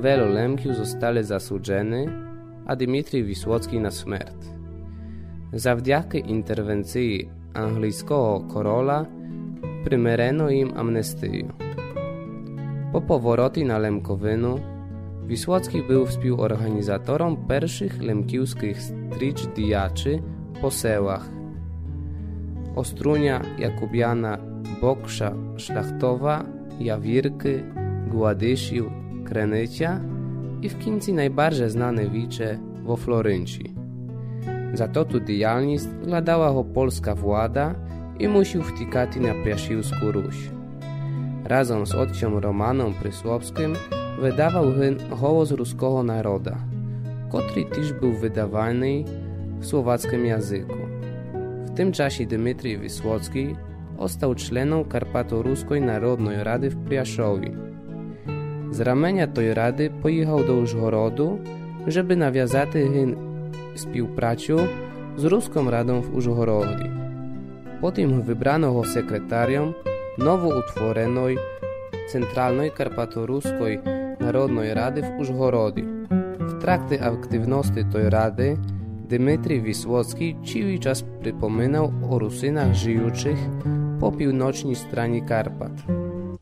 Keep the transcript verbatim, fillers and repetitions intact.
Вело Лемків зостали засуджени, а Димитрий Висоцкий на смерт. Завдякы інтервенциі английского короля примирено їм амнестию. По повороті на Лемковину Висоцкий был співорганізатором першых лемківскых стріч діячы по селах Оструня, Якубяна, Бокша, Шляхтова, Явіркы, Гладышів, Крениця і в кінці найбарже знане віче во Флоринчі. За тоту діяльніст гладала го польска влада і мусів втікати на Пряшівску Русь. Разом з отцьом Романом Прислопскым выдавал гын Голос руского народа, котрий тіж был выдаваный в словацкым языку. В тым часі Димитрий Висоцкий остал членом Карпаторуской народной рады в Пряшові. З раменя той рады поїхал до Ужгороду, жебы навязати гын співпрацю з Руском радом в Ужгороді. Потім выбрано го секретарьом новоутвореной Централной Карпаторуской народной рады в Ужгороді. В тракті активности той рады Димитрий Висоцкий цілий час припоминал о Русинах, жиючых по півночній страні Карпат.